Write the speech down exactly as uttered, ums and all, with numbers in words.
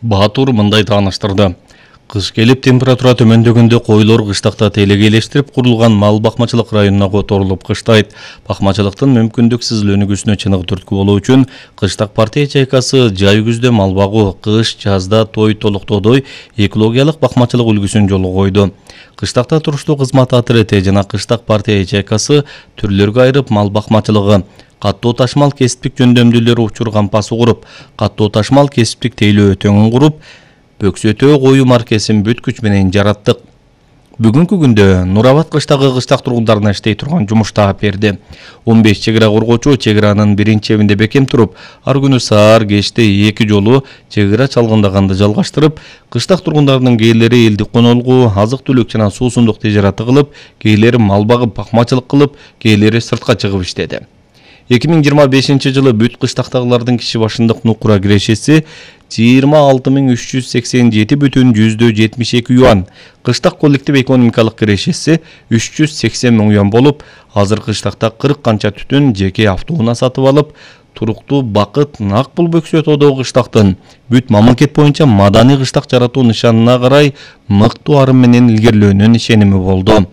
Баатур мындай тааныштырды. Кыш келип температура төмөндөгөндө койлор кыштакта телегейлештирип курулган мал бакмачылык районуна которулуп кыштайт. Бакмачылыктын мүмкүндүксүз өнүгүүсүнө чыныгы түрткү болуу үчүн кыштак партия ячейкасы жай күздө мал багуу, кыш жазда той толуктоодой экологиялык бакмачылык үлгүсүн жолго койду. Кыштакта туруштуу кызмат отряды жана кыштак партия ячейкасы түрлөргө айырып мал бакмачылыгы, каттуу ташмал кесиптик жөндөмдүүлөр учур кампасы куруп, каттуу ташмал кесиптик тейлөө өтөңүн куруп, бөксөтөө кою маркесин бүт күч менен жараттык. Бүгүнкү күндө Нур Абад кыштагы кыштак тургундарына иштей турган жумуш таап берди. он беш чек ара коргоочу чек аранын биринчи чебинде бекем туруп, ар күнү саар кечте эки жолу чек ара чалгындаганды жалгаштырып, кыштак тургундардын кээлери элдик конолгу, азык түлүк жана суусундук тежараты кылып, кээлери мал багып бакмачылык кылып, кээлери сыртка чыгып иштеди. эки миң жыйырма бешинчи жылы бүт кыштактагылардын киши башындык нукура кирешеси жыйырма алты миң үч жүз сексен жети бүтүн жүздө жетимиш эки юан, кыштак коллектив экономикалык кирешеси үч жүз сексен миң юан болуп, азыр кыштакта кырк канча түтүн жеке автоунаа сатып алып, туруктуу бакыт нак бул бөксөтөөдөгү кыштактын бүт мамлекет боюнча маданий кыштак жаратуу нышанына карай мыктуу арым менен илгерилөөнүн ишеними болду.